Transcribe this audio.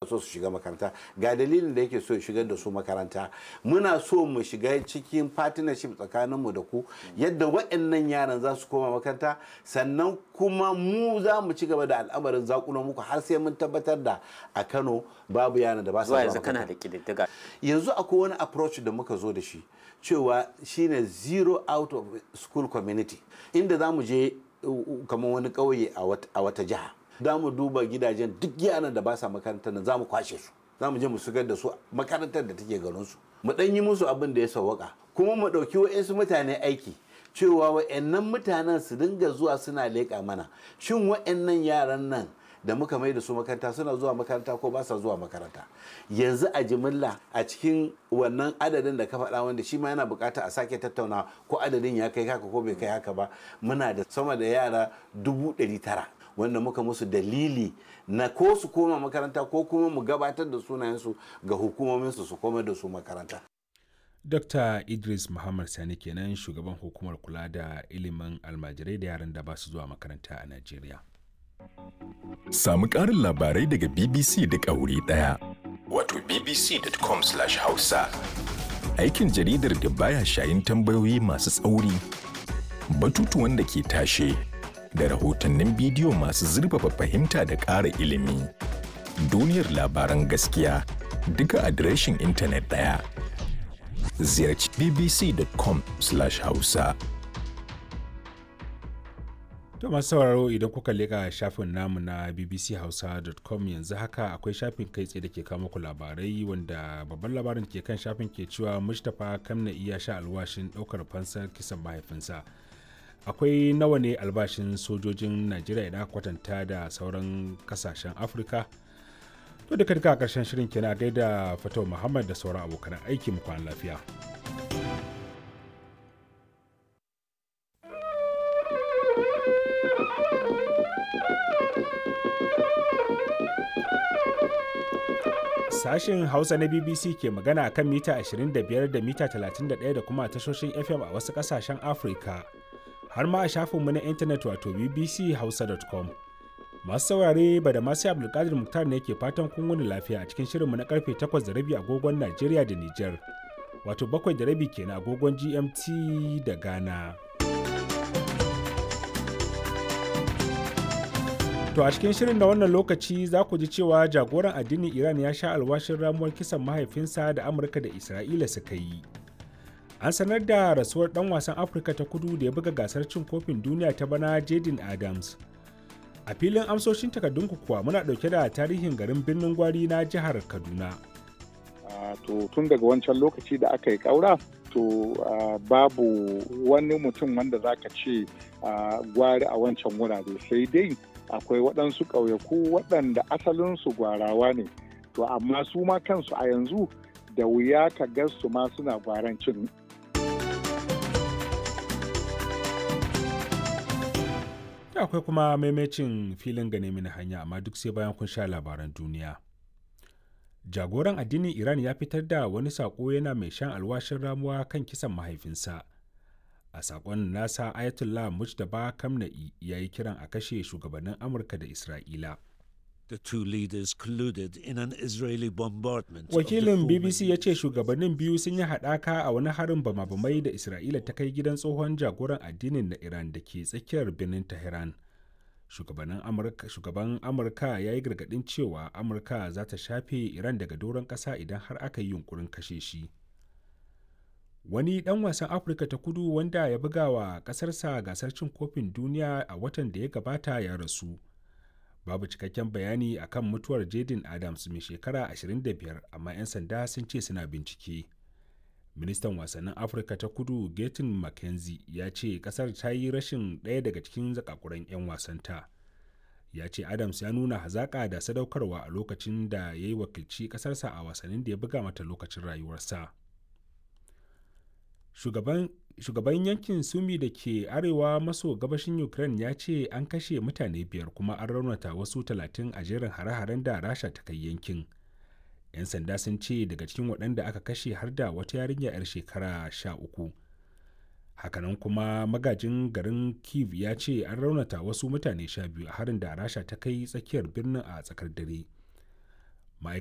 so su shiga makaranta, ga dalilin da yake so ya shigar da su makaranta. Muna so mu shiga cikin partnership tsakaninmu da ku yadda waɗannan yaran za su koma makaranta, sannan kuma mu za mu ci gaba da al'amarin zakulo muku har sai mun tabbatar da a Kano babu yaran da ba su Zuwa yanzu kana da ƙididdiga? Yanzu akwai wani approach da muka zo da shi cewa shine zero out of school community, inda za mu je kamar wani ƙauye a wata jiha, za mu duba gidajen duk yaran da ba sa makarantar nan, za mu kwashe su, za mu je mu shigar da su makarantar da take garinsu, mu ɗan yi musu abin da ya sawwaka, kuma mu ɗauki wa'insu mutane aiki cewa wa'annan mutanen su dinga zuwa suna leƙa mana shin wa'annan yaran nan da muka mai da su makaranta suna zuwa makaranta ko ba sa zuwa makaranta. Yanzu a jimilla a cikin wannan adadin da ka faɗa, wanda shi ma yana bukata a sake tattauna ko adadin ya kai haka ko bai kai haka ba, muna da sama da yara 900,000 wanda muka musu dalili na ko su koma makaranta ko kuma mu gabatar da sunayensu ga hukumominsu su koma da su makaranta. Dr. Idris Muhammad Sani kenan, shugaban hukumar kula da ilimin almajirai da yaran da ba su zuwa makaranta a Najeriya. Samu ƙarin labarai daga BBC duk a wuri ɗaya. Wato bbc.com/hausa. Aikin jaridar da baya shayin tambayoyi masu tsauri, batutuwan da ke tashe, da rahotannin bidiyo masu zurfafa fahimta da ƙara ilimi. Duniyar labaran gaskiya duka adireshin intanet ɗaya. Ziyarci bbc.com/hausa. To masu sauraro, idan kuka leƙa shafin namu na bbchausa.com, yanzu haka akwai shafin kai tsaye da ke kawo muku labarai, wanda babban labarin ke kan shafin ke cewa Mustapha Kamna iya sha alwashin ɗaukar fansar kisan mahaifinsa. Akwai nawa ne albashin sojojin Najeriya idan aka kwatanta da sauran kasashen Afirka? To duka duka a ƙarshen shirin kenan, a gaida Fatau Muhammad da sauran abokan aiki, mu kwana lafiya. Sashen Hausa na BBC ke magana a kan mita 25 da mita 31 da kuma tashoshin FM a wasu ƙasashen Afirka, har ma a shafinmu na intanet wato bbchausa.com. Masu saurare, ba da masu Abdulkadir Muktar ne ke fatan kun wuni lafiya a cikin shirinmu na karfe 8:30 agogon Najeriya da Nijar, wato 7:30 kenan agogon GMT da Ghana. To a cikin shirin na wannan lokaci za ku ji cewa jagoran addinin Iran ya sha alwashin ramuwar kisan mahaifinsa da Amurka da Isra'ila suka yi. An sanar da rasuwar ɗan wasan Afirka ta Kudu da ya buga gasar cin kofin duniya ta bana, Jaden Adams. A filin amsoshin takardunku kuwa muna ɗauke da tarihin garin Birnin Gwari na jihar Kaduna. To tun daga wancan lokaci da aka yi ƙaura, to babu wani mutum wanda za ka ce gwari a wancan wurare, sai dai akwai waɗansu ƙauyaku waɗanda asalinsu gwarawa ne, to amma su ma kansu a yanzu da wuya ka ga su ma suna gwarancin. Akwai kuma maimacin filin gane mini hanya, amma duk sai bayan kun sha labaran duniya. Jagoran addinin Iran ya fitar da wani saƙo yana mai shan alwashin ramuwa kan kisan mahaifinsa. A saƙon nasa, Ayatollah Mujtaba Kamna'i ya yi kiran a kashe shugabannin Amurka da Isra'ila. The two leaders colluded in an Israeli bombardment of the Wakilin former BBC ya ce shugabannin biyu sun yi haɗaka a wani harin bama-bamai da Isra'ila ta kai gidan tsohon jagoran addinin na Iran da ke tsakiyar birnin Tehran. Shugaban Amurka ya yi gargaɗin cewa Amurka za ta shafe Iran daga doron ƙasa idan har aka yi yunkurin kashe shi. Wani ɗan wasan Afirka ta Kudu wanda ya buga wa ƙasarsa gasar cin kofin duniya a watan da ya gabata ya rasu. Babu cikakken bayani akan mutuwar Jaden Adams mai shekara 25, amma 'yan sanda sun ce suna bincike. Ministan wasannin Afirka ta Kudu Gaten McKenzie ya ce kasar ta yi rashin ɗaya daga cikin zakakuran 'yan wasanta. Ya ce Adams ya nuna hazaƙa da sadaukarwa a lokacin da ya yi wakilci ƙasarsa a wasannin da ya buga mata lokacin rayuwarsa. Shugaban yankin Sumi da ke arewa maso gabashin Ukraine ya ce an kashe mutane 5 kuma an raunata wasu 30 a jerin hare-haren da Rasha ta kai yankin. 'Yan sanda sun ce daga cikin waɗanda aka kashe har da wata yarinya 'yar shekara 13. Hakanan kuma magajin garin Kiev ya ce an raunata wasu mutane 12 a harin da Rasha ta kai tsakiyar birnin a tsakar dare.